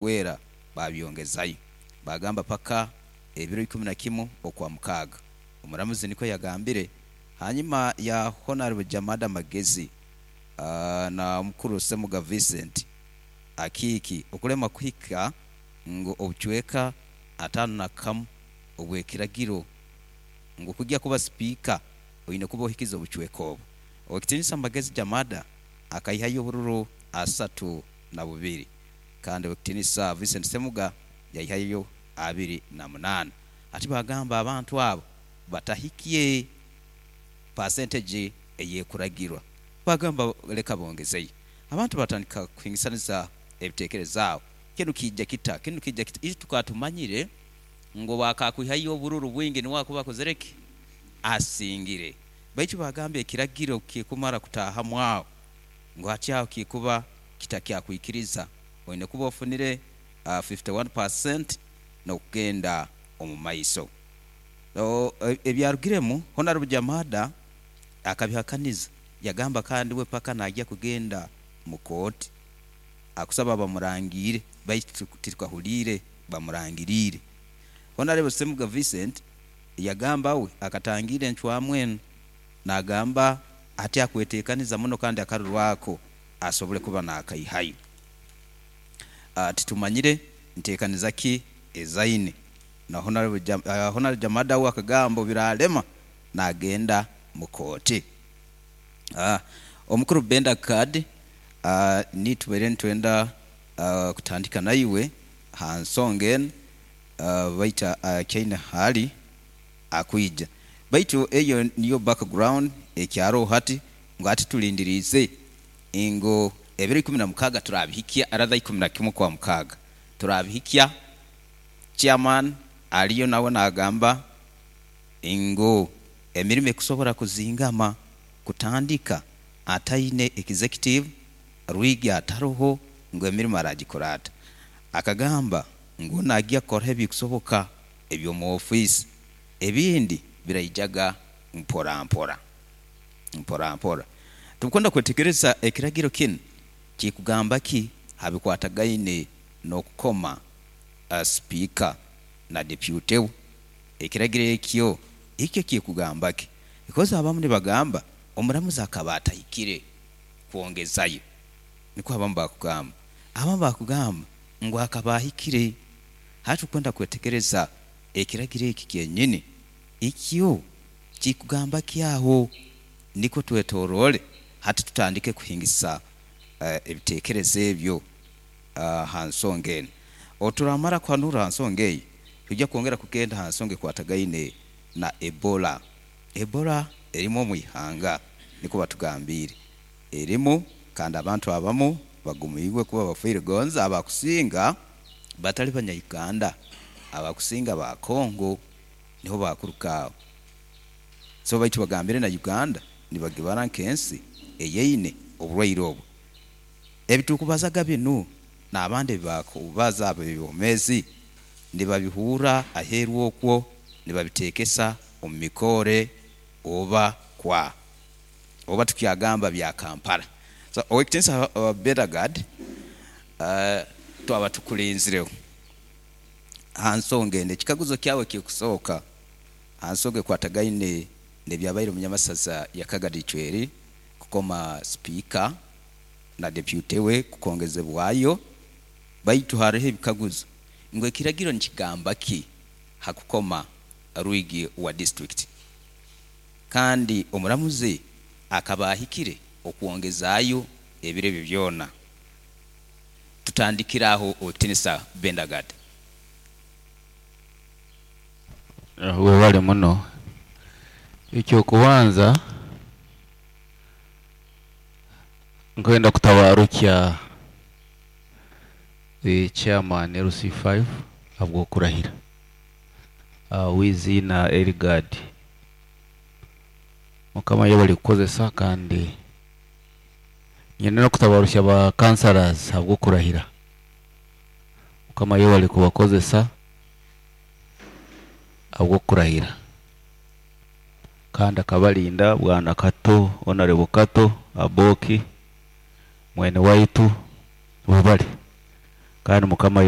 Wera babyongezayo bagamba paka ebiro 11 okwa mukaaga. Omuramuzi nikwo yagambire hanyuma ya Honorable Jamada Magezi na omukuru Ssemuga Vincent Akiiki okulema kuhika ngu obucweka 51 obw'ekiragiro ngu kugya kuba sipiika oine kuba ohikize obucweka obu. Owekitinisa Magezi Jamada akaihayo obururu 32 kandi Owekitinisa Vincent Ssemuga yaihayo 28. Hati bagamba abantu abo batahikye pasentegi eyekuragirwa. Bagamba leka bongezeyo. Abantu batandika kuhingisaniza ebitekerezo aho. Kinu kiija kita? Kinu kiija kita? Itwe tukaba tumanyire ngu obwakakwihayo obururu bwingi niwe akuba akozire ki? Asingire. Baitu bagamba ekiragiro kikumara kutahamu aho ngu hati aho kikuba kitakyakwikiriza oine kuba ofunire 51% n'okugenda omu maiso. Ebyarugiremu, Honorable Jamada akabihakaniza yagamba kandi we paka nagya kugenda mu kooti akusaba bamurangiire baitu titukahuliire bamurangiriire. Honorable Ssemuga Vincent yagamba we akatangiira encwamu enu nagamba ati akwetekaniza muno kandi akaruru ako asobole kuba nakaihayo. Titumanyire ntekaniza ki ezaine na Honorable Jamada we akagamba obiralema nagenda mu kooti. Omukuru Benda Card, nitubaire nitwenda kutandika naiwe ha nsonga enu baitu akyaine hali akwija. Baitu eyo niyo background ekyaroho hati ngu hati tulindiriize ngu ebiro 16 turabihikya rather 11 kwa mukaaga turabihikya. Chairman aliyo nawe nagamba ngu emirimo ekusobora kuzingama kutandika ataine executive, Rwigi ataroho ngu emirimo aragikora ata. Akagamba ngu nagya kukora ebikusoboka eby'omu ofiisi ebindi biraijaga mpora mpora. Mpora mpora. Tukwenda kwetegereza ekiragiro kinu kikugamba ki ha bikwatagaine n'okukoma sipiika na deputy we. Ekiragiro ekyo ikyo kikugamba ki? Because abamu nibagamba omuramuzi akaba atahikire kwongezayo. Nikwo abamu bakugamba. Abamu bakugamba ngu akaba ahikire. Hati tukwenda kwetegereza ekiragiro eki kyenyini ikyo kikugamba ki aho nikwo twetoroole hati tutandike kuhingisa ebitekerezo ebyo ha nsonga enu. Oturamara kuhanura ha nsonga eyo, twija kwongera kugenda ha nsonga ekwatagaine na Ebola. Ebola erimu omu ihanga nikwo batugambiire. Erimu kandi abantu abamu bagumiibwe kuba bafiire gonza abakusinga batali banya Uganda, abakusinga ba Congo niho bakuruga aho. So baitu bagambire na Uganda nibagibara nk'ensi eyeine oburwaire obu. Ebitukubazaga binu n'abandi ebibakubaza ab'ebyomeezi nibabihuura aheeru okwo nibabitekesa omu mikoore oba kwa oba tukyagamba bya Kampala. So Owekitinisa Bedagard twaba tukulinzireho ha nsonga enu. Ekikaguzo kyawe ekikusooka ha nsonga ekwatagaine n'ebyabaire omu Nyamasaza ya Kagadi Icweri kukoma sipiika na deputy we kukongezebwayo baitu haroho ebikaguzo ngu ekiragiro nikigamba ki ha kukoma Rwigi wa disiturikiti kandi omuramuzi akaba ahikire okwongezaayo ebiro ebyo byona. Tutandikire aho Owekitinisa Bendagard. Webale muno. Ekyokubanza nkwenda kutabarukya the chairman LC5 habw'okurahira w'eiziina Erigard. Mukama yebale kukozesa kandi nyine n'okutabarukya ba councillors habw'okurahira. Mukama yebale kubakozesa habw'okurahira kandi akabarinda Bwana Kato, Honorable Kato, Aboki, mwene waitu, webale. Kandi Mukama.